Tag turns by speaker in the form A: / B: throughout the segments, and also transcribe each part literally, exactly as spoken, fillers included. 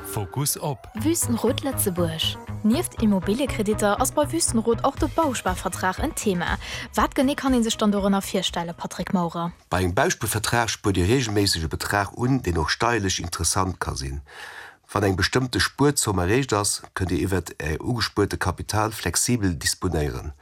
A: Fokus op.
B: Wüstenrot Lëtzebuerg. Nieft Immobiliekreditter ass bei Wüstenrot och de Bausparvertrag en Thema. Wat genee kann een sech dann dorënner virstellen, Patrick Maurer?
C: Bei engem Bauspuervertrag spuert Dir reegelméisseg e Betrag un, deen och steierlech interessant ka sinn. Wann eng bestëmmte Spuerzomm erreecht ass, kënnt Dir iwwer Är ugespuerte Kapital flexibel disponéieren.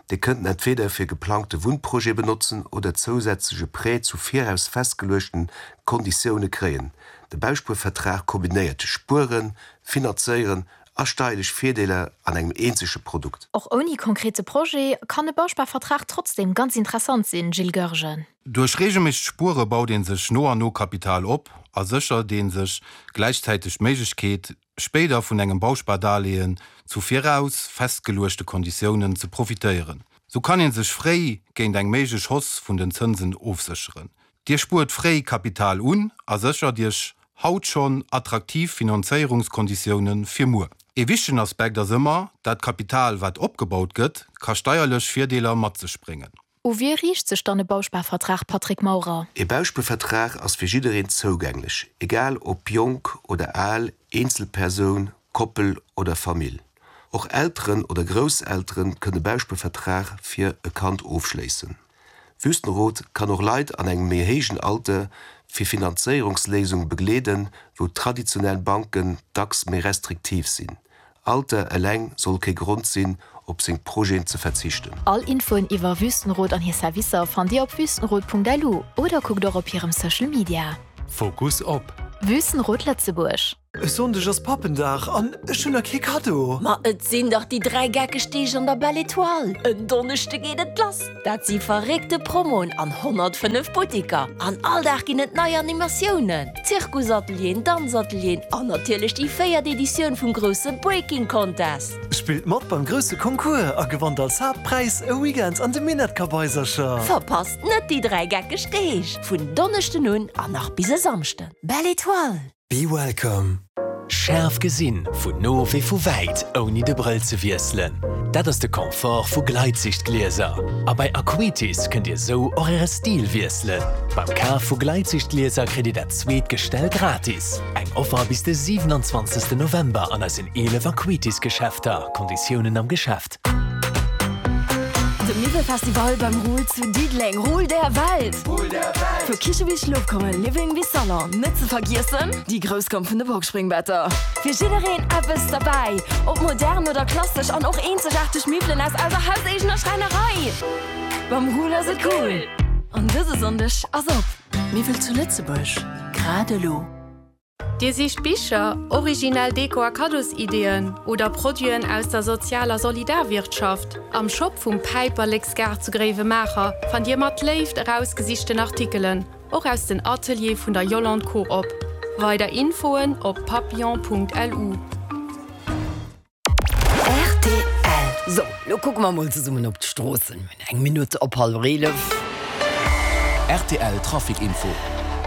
C: Dir kënnt en entweder fir geplangte Wunnprojete benotzen oder zousätzleche Prêt zu viraus festgeluechten Konditioune kréien. De Bauspuervertrag kombinéiert Spueren, Finanzéieren a steierlech Virdeeler an engem eenzege Produkt.
B: Och ouni konkrete Projet kann e Bausparvertrag trotzdeem ganz interessant sinn, Gilles Goergen.
D: Duerch reegelméissegt Spuere baut een sech no an no Kapital op a séchert een sech gläichzäiteg d'Méiglechkeet, spéider vun engem Bauspardarlehen zu viraus festgeluechte Konditiounen ze profitéieren. Sou kann een sech fréi géint eng méiglech Hausse vun den Zënsen ofsécheren. Dir spuert fréi Kapital un a séchert Iech haut schonn attraktiv Finanzéierungskonditioune fir muer. E wichtegen Aspekt ass ëmmer, dat Kapital wat opgebaut gëtt, ka steierlech Virdeeler mat sech bréngen.
B: U wie riicht sech dann e Bausparvertrag, Patrick Maurer?
C: E Bauspuervertrag ass fir jiddereen zougänglech, egal ob jonk oder al, Eenzelpersoun, Koppel oder Famill. Och Elteren oder Grousseltere kënne Bauspuervertrag fir e Kand ofschléissen. Wüstenrot kann och Leit an engem méi héijen Alter fir Finanzéierungsléisunge begleeden, wou traditionell Banken dacks méi restriktiv sinn. Alter eleng soll kee Grond sinn, op seng Projeten ze verzichten.
B: All Infoen iwwer Wüstenrot an hir Servicer fannt Dir op wüstenrot.lu oder kuckt och op hirem Social Media.
A: Fokus op.
B: Wüstenrot Lëtzebuerg.
E: E Sonndeg ass Pappendag an ech hunn nach kee Kaddo.
F: Ma et sinn dach déi dräi geckeg Deeg an der Belle Etoile. En Donneschde geet et lass. Dat si verréckte Promoen an honnertfënnef Butteker. An all Dag ginn et nei Animatiounen, Zirkusatelieren, Danzatelieren an natierlech déi véiert Editioun vum grousse Breaking Contest.
E: Spillt mat beim grousse Concours a gewannt als Haaptpräis e Weekend an de Minett-Kabaisercher.
F: Verpasst net déi dräi geckeg Deeg vun Donneschden un an nach bis e Samschden. Belle Etoile.
E: Be welcome.
G: Schaarf gesinn, vun no wéi vu wäit, ouni de Brëll ze wiesselen. Dat ass de Confort vu Gleitsichtglieser. A bei Acuitis kënnt Dir sou och Äre Stil wiesselen. Beim Kaf vu Gleitsichtglieser kritt Dir dat zweet Gestell gratis. Eng Offer bis de siwenanzwanzegsten November an eisen eelef Acuitis-Geschäfter. Konditiounen am Geschäft.
H: De Miwwelfestival beim Ruhl zu Diddeleng. Ruhl der Welt! Vu Kiche bis Schlofkummer, Living bis Salon. Net ze vergiessen, déi grouss Gamm vun de Boxspringbetter. Fir jiddereen eppes derbäi. Ob modern oder klassesch an och eenzegaarteg Miwwelen aus eiser hauseegener Schräinerei. Beim Ruhl ass et cool! An dëse Sonndeg ass op.
I: Miwwel zu Lëtzebuerg, grad elo.
J: Dir sicht Bicher, originell Deko a Kaddosideeën oder Produiten aus der sozialer Solidarwirtschaft? Am Shop vum Päiperleksgaart zu Gréiwemaacher fannt Dir mat Léift erausgesichten Artikelen, och aus den Ateliere vun der Yolande Coop. Weider Infoen op papillon Punkt L U.
K: R T L. Sou, lo kucke mer mol zesummen op d'Stroossen. Mir hunn eng Minutt op hallwer eelef.
G: R T L Trafic Info.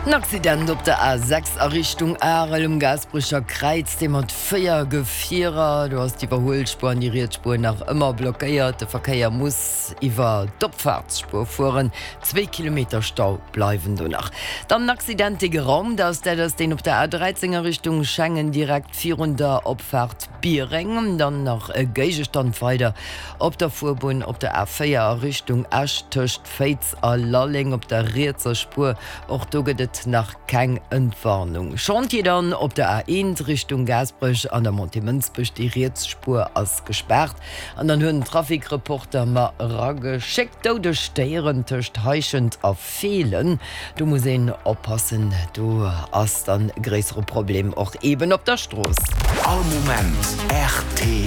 K: En Accident op der A sechs a Richtung Arel um Gaasperecher Kräiz, dee mat véier Gefierer. Do ass d'Iwwerhuelspuer an déi riets Spuer nach ëmmer blockéiert. De Verkéier muss iwwer d'Opfaartsspuer fueren. Zwee Kilometer Stau bleiwen do nach. Dann en Accident, dee geraumt ass. Dat ass deen op der A dräizéng a Richtung Schengen, direkt virun der Opfaart Biereng. Dann nach e Géigestand weider op der Fuerbunn op der A véier a Richtung Esch tëscht Féiz a Lalleng op der rietser Spuer. Och do gëtt et nach keng Entwarnung. Chantier dann op der A eent Richtung Gaasperech an der Montée Mënsbech, déi riets Spuer ass gespaart. An dann huet en Trafic-Reporter mer erageschéckt, doudeg Déieren tëscht Heischent a Feelen. Do muss een oppassen, do ass dann e gréissere Problem och eben op der Strooss.
G: All Moment rtl.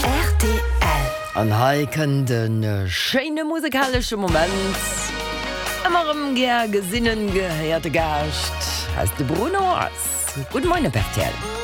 K: Rtl. An hei kënnt e schéine musekalesche Moment. Ëmmer erëm gär gesinnen, gehéierte Gaascht, hei ass de Bruno Mars. Gudde Moien op rtl.